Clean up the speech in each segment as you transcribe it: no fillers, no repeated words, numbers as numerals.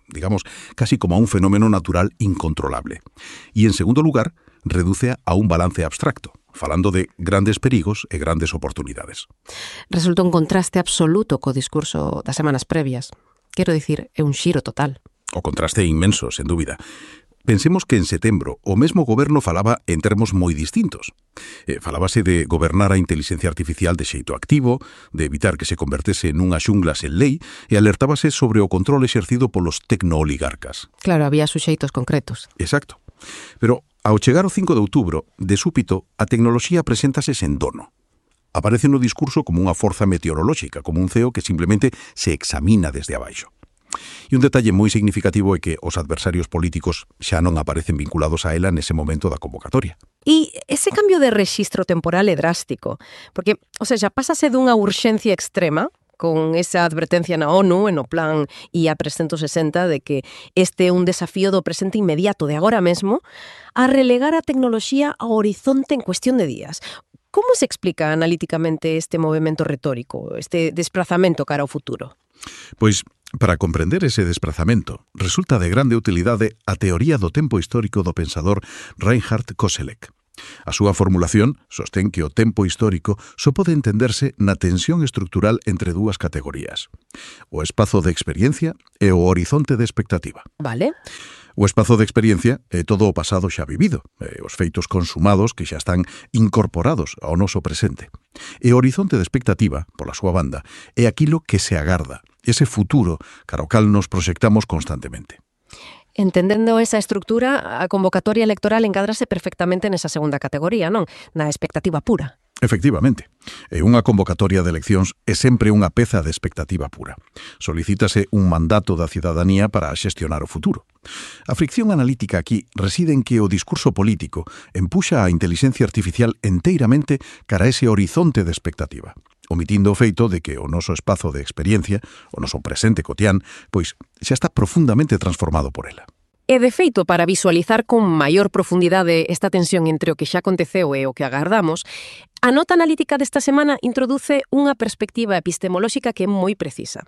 digamos, casi como a un fenómeno natural incontrolable. Y, en segundo lugar, reduce a un balance abstracto, falando de grandes perigos e grandes oportunidades. Resulta un contraste absoluto co discurso das semanas previas. Quero dicir, é un xiro total. O contraste é inmenso, sen dúbida. Pensemos que en setembro o mesmo goberno falaba en termos moi distintos. Falábase de gobernar a inteligencia artificial de xeito activo, de evitar que se convertese nunha xungla sen lei, e alertábase sobre o control exercido polos tecnooligarcas. Claro, había suxeitos concretos. Exacto. Pero ao chegar o 5 de outubro, de súpito, a tecnoloxía preséntase sen dono. Aparece no discurso como unha forza meteorolóxica, como un ceo que simplemente se examina desde abaixo. E un detalle moi significativo é que os adversarios políticos xa non aparecen vinculados a ela nese momento da convocatoria. E ese cambio de rexistro temporal é drástico, porque, pásase dunha urxencia extrema, con esa advertencia na ONU, no plan IA 360, de que este é un desafío do presente inmediato de agora mesmo, a relegar a tecnoloxía ao horizonte en cuestión de días. Como se explica analíticamente este movimento retórico, este desplazamento cara ao futuro? Pois, para comprender ese desplazamento, resulta de grande utilidade a teoría do tempo histórico do pensador Reinhard Koselleck. A súa formulación sostén que o tempo histórico só pode entenderse na tensión estructural entre dúas categorías: o espazo de experiencia e o horizonte de expectativa. Vale. O espazo de experiencia é todo o pasado xa vivido, os feitos consumados que xa están incorporados ao noso presente. E o horizonte de expectativa, pola súa banda, é aquilo que se agarda, ese futuro cara ao cal nos proxectamos constantemente. Entendendo esa estructura, a convocatoria electoral encadrase perfectamente nesa segunda categoría, non? Na expectativa pura. Efectivamente, unha convocatoria de eleccións é sempre unha peza de expectativa pura. Solicítase un mandato da cidadanía para xestionar o futuro. A fricción analítica aquí reside en que o discurso político empuxa a inteligencia artificial enteiramente cara a ese horizonte de expectativa, omitindo o feito de que o noso espazo de experiencia, o noso presente cotián, pois xa está profundamente transformado por ela. E, de feito, para visualizar con maior profundidade esta tensión entre o que xa aconteceu e o que agardamos, a nota analítica desta semana introduce unha perspectiva epistemolóxica que é moi precisa.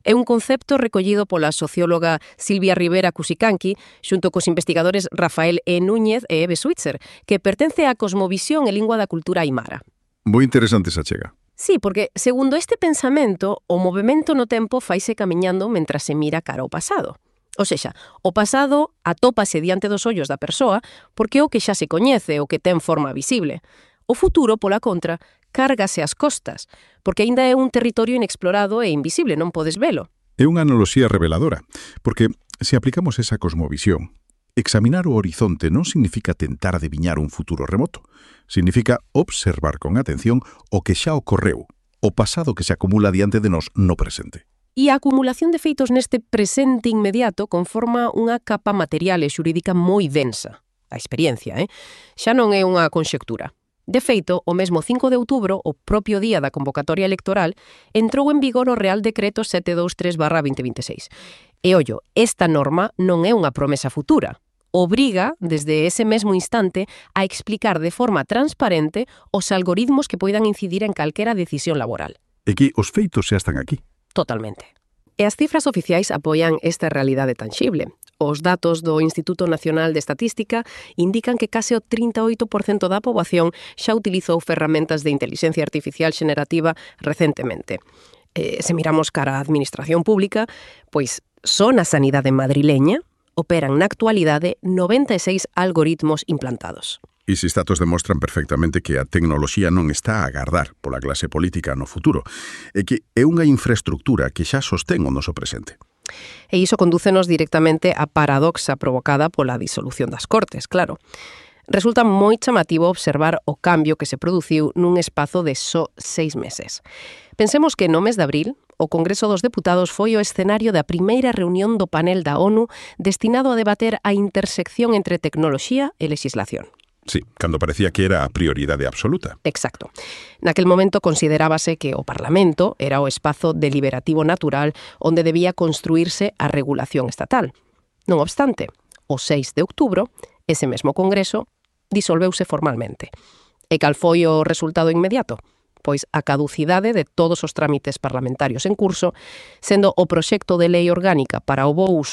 É un concepto recollido pola socióloga Silvia Rivera Cusicanqui xunto cos investigadores Rafael E. Núñez e Eve Switzer, que pertence á cosmovisión e lingua da cultura aimara. Moi interesante esa chega. Sí, porque, segundo este pensamento, o movimento no tempo faise camiñando mentras se mira cara ao pasado. O sexa, o pasado atópase diante dos ollos da persoa porque é o que xa se coñece, o que ten forma visible. O futuro, pola contra, cárgase ás costas, porque aínda é un territorio inexplorado e invisible, non podes velo. É unha analoxía reveladora, porque se aplicamos esa cosmovisión, examinar o horizonte non significa tentar adiviñar un futuro remoto, significa observar con atención o que xa ocorreu, o pasado que se acumula diante de nós no presente. E a acumulación de feitos neste presente inmediato conforma unha capa material e xurídica moi densa. A experiencia, xa non é unha conxectura. De feito, o mesmo 5 de outubro, o propio día da convocatoria electoral, entrou en vigor o Real Decreto 723/2026. E, ollo, esta norma non é unha promesa futura. Obriga, desde ese mesmo instante, a explicar de forma transparente os algoritmos que poidan incidir en calquera decisión laboral. E que os feitos xa están aquí. Totalmente. E as cifras oficiais apoian esta realidade tangible. Os datos do Instituto Nacional de Estatística indican que case o 38% da poboación xa utilizou ferramentas de inteligencia artificial xenerativa recentemente. Se miramos cara á administración pública, pois só na sanidade madrileña operan na actualidade 96 algoritmos implantados. E esses datos demostran perfectamente que a tecnoloxía non está a agardar pola clase política no futuro, e que é unha infraestructura que xa sostén o noso presente. E iso condúcenos directamente á paradoxa provocada pola disolución das Cortes, claro. Resulta moi chamativo observar o cambio que se produciu nun espazo de só 6 meses. Pensemos que no mes de abril, o Congreso dos Deputados foi o escenario da primeira reunión do panel da ONU destinado a debater a intersección entre tecnoloxía e legislación. Sí, cando parecía que era a prioridade absoluta. Exacto. Naquel momento considerábase que o Parlamento era o espazo deliberativo natural onde debía construirse a regulación estatal. Non obstante, o 6 de outubro, ese mesmo Congreso disolveuse formalmente. E cal foi o resultado inmediato? pois a caducidade de todos os trámites parlamentarios en curso, sendo o proxecto de lei orgánica para o bo